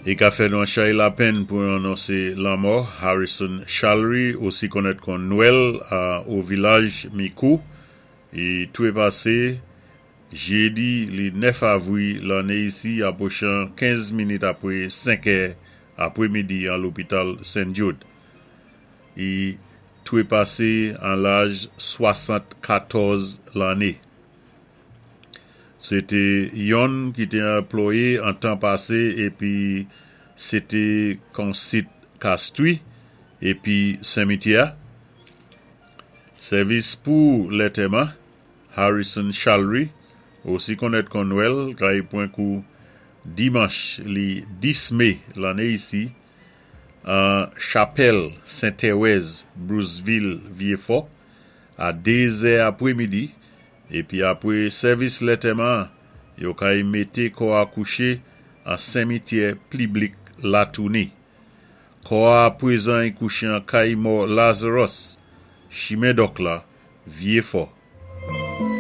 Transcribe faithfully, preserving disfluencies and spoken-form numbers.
I ka fè nou an chay lapenn pou anonsé lanmò Harrison Chalry, osi konnèt kon Nwèl o vilaj Mikou. I toué pasé jédi li nèf avwi lanné isi apwochan kenz minit apwé senk è apwémidi an lopital Saint Jude. I toué pasé an laj swasann-katòz lanné. Sé té yonn ki té anplwayé an tan pasé épi sé té konsit Castries épi senmityè. Sèvis pou lantèman Harrison Chalry, osi konnèt kon Nwèl, kay pwan kou dimanch li dis mé lanné isi, an chapèl Saint-Thérèse, Bruceville, Vieux-Fort, a dézè apwémidi, épi apwé sèvis lantèman, yo kay mété kò a kouché an senmityè piblik Latouni. Kò a pwézan i kouché an kay mò Lazarus, Chimen Dòk la, Vieux-Fort.